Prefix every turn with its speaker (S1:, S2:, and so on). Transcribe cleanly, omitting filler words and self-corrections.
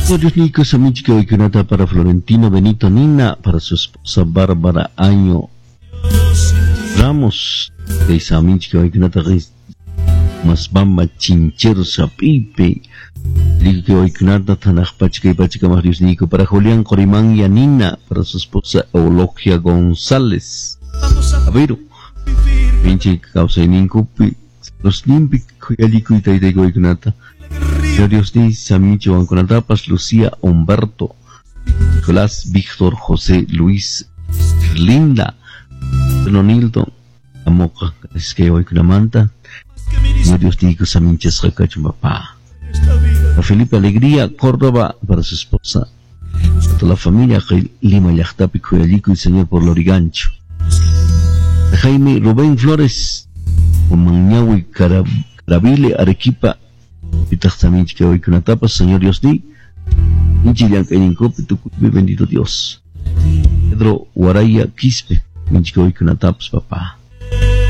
S1: Señor Dios Nico Samichka Waykunata para Florentino Benito Nina, para su esposa Bárbara Año Ramos, de Samichka Waykunata Masbamba Chinchero Sapipe, Digo Waykunata Tanaj Pachka y Pachka más Dios Nico, para Julián Corimán Yanina, para su esposa Eulogia González.
S2: Vamos a
S1: A ver,
S2: vivir
S1: pinche kawsayninkupi los nimpi khuyallikuy taytayku waykunata. Señor Dios ni Samichi wankunatapas Lucía Humberto Nicolás Víctor José Luis Linda Nonildo Amoqa iskay waykunamanta.
S2: que me
S1: Señor Dios niyku saminchasqa kachun papá.
S2: esta vida.
S1: A Felipe Alegría Córdoba para su esposa, a toda la familia Lima llaqtapi khuyallikuy Señor por Lorigancho. A Jaime Rubén Flores Umanñawi Carabile Arequipa pitaq saminchik waykunatapas Señor Dios ni inchi llank'ayninkupi tukuypi bendito Dios. Pedro Guaraya Quispe minchik waykunatapas papá.